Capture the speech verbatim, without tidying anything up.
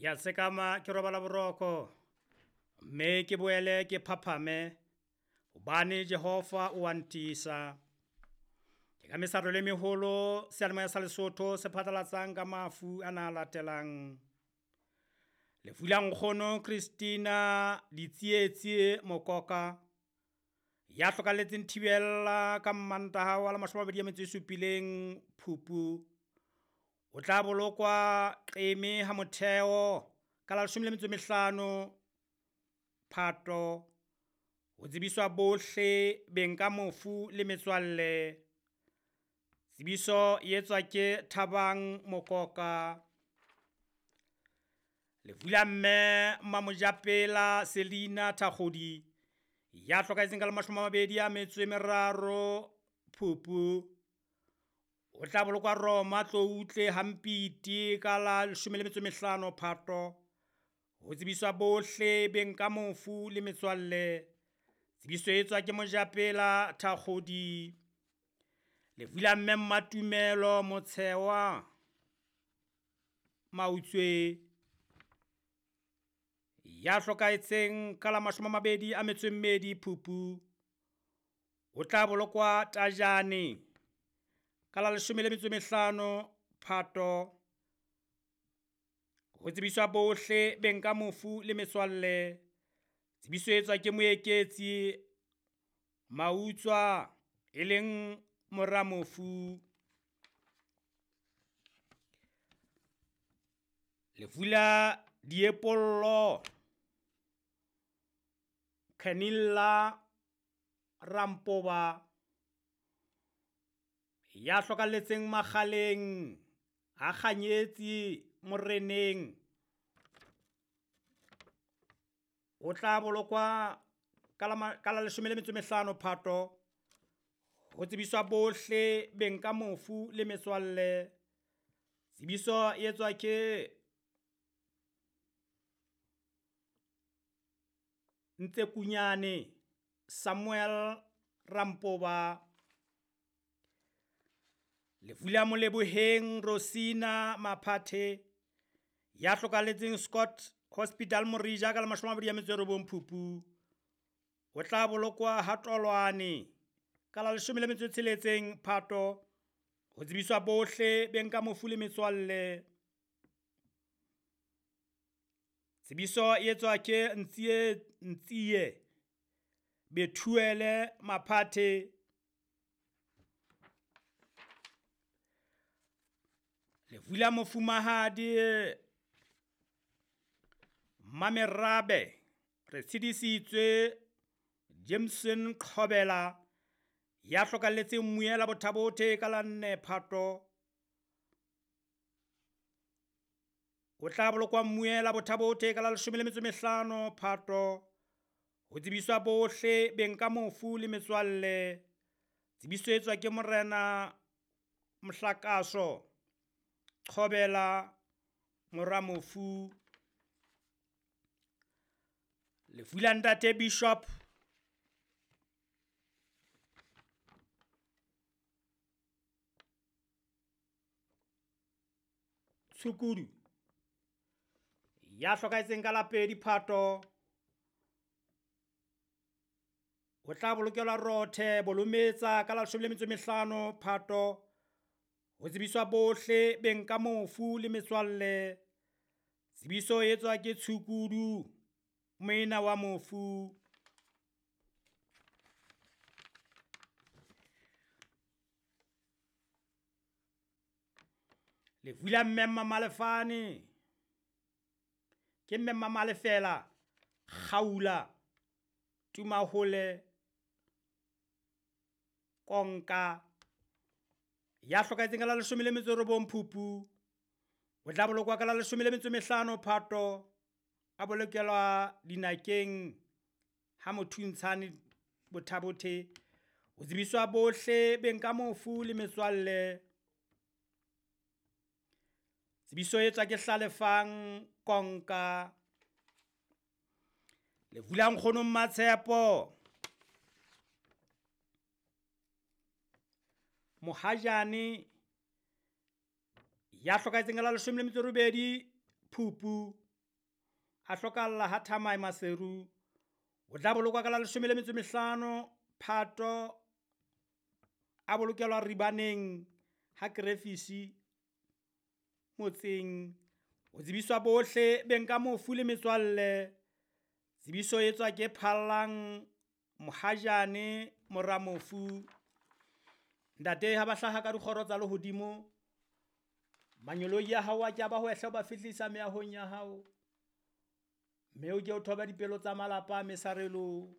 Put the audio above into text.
Ke a sekama ke robala boroko, mme ke boele ke phaphame, hobane Jehova o a ntiisa. Ke ka mesarelo e meholo seyalemoya sa Lesotho se phatlalatsang ka mafu ana a latelang. Lefu la nkgono Christina Ditsietsi Mokoka ya hlokahalletseng Thibella ka Mmantaha wa la mashome a mabedi a metso e supileng Phupu. O tla bolokwa Qeme ha Motheo ka la leshome le metso e mehlano Phato. Ho tsebiswa bohle beng ka mofu le metswalle. Tsebiso e etswa ke Thabang Mokoka. Lefu la mme Mamojapela Selina Thakgodi ya hlokahetseng ka la mashome a mabedi a metso e meraro Phupu. O tla bolokwa Roma Tloutle Hampiti ka la leshome le metso e mehlano Phato. Ho tsebiswa bohle beng ka mofu le metswalle. Tsebiso e etswa ke Mojapela Thakgodi. Lefu la mme Mmatumelo Motshewa Mautswe ya hlokahetseng ka la mashome a mabedi a metso e mmedi Phupu. O tla bolokwa Tajane ka la leshome le metso e mehlano Phato. Ho tsebiswa bohle beng ka mofu le metswalle. Tsebiso e etswa ke Moeketsi Mautswa e leng mora mofu. Lefu la Diepollo Canilla Rampoba ya hlokahalletseng Makgaleng ha Kganyetsi Moreneng. O tla bolokwa ka la ka la leshome le metso e mehlano Phato. Ho tsebiswa bohle beng ka mofu le metswalle. Tsebiso e etswa ke Ntsekunyane Samuel Rampoba. Lefu la Moleboheng Rosina Maphathe ya hlokahalletseng Scott Hospital Morija ka la mashome a mabedi a metso e robong Phupu. O tla bolokwa ha Tolwane ka la leshome le metso e tsheletseng Phato. Ho tsebiswa bohle beng ka mofu le metswalle. Tsebiso e etswa ke Ntsie Ntsie Bethuele Maphathe. Lefu la mofumahadi Mamerabe re tshedisitswe Jameson Qhobela ya hlokahalletseng Mmuela Bothabothe ka la nne Phato. O tla bolokwa Mmuela Bothabothe ka la leshome le metso e mehlano Phato. Ho tsebiswa bohle beng ka mofu le metswalle. Tsebiso e etswa ke Morena Mohlakaso Qhobela mora mofu. Lefu la ntate Bishop Tshukudu ya hlokahetseng ka la pedi Phato. O tla bolokelwa Rothe Bolometsa ka la leshome le metso e mehlano Phato. Ho tsebiswa bohle beng ka mofu le metswalle. Tsebiso e etswa ke Tshukudu moena wa mofu. Lefu la mme Mmalefane ke mme Mmalefela Kgaula Tumahole Konka ya hlokahetseng ka la leshome le metso e robong Phupu. O tla bolokwa ka la leshome le metso e mehlano Phato. A bolokelwa dinakeng ha Mothuntshane Bothabothe. Ho tsebiswa bohle beng ka mofu le metswalle. Tsebiso e etswa ke Hlalefang Konka. Lefu la nkgono Mmatshepo Mohajane ya hlokahetseng ka la leshome le metso e robedi Phupu. A hlokahalla ha Thamae Maseru. O tla bolokwa ka la leshome le metso e mehlano Phato, a bolokelwa Ribaneng ha Krefisi motseng. O tsebiswa bohle beng ka mofu le metswalle. Tsebiso e tswa ke Phallang Mohajane mora mofu. Ntate ha ba hlaha ka dikgoro tsa lehodimo, manyoloi a hao a ke a ba hwehle o ba fihlisa meahong ya hao. Mme o ke o thobe dipelo tsa malapa a mesarelo.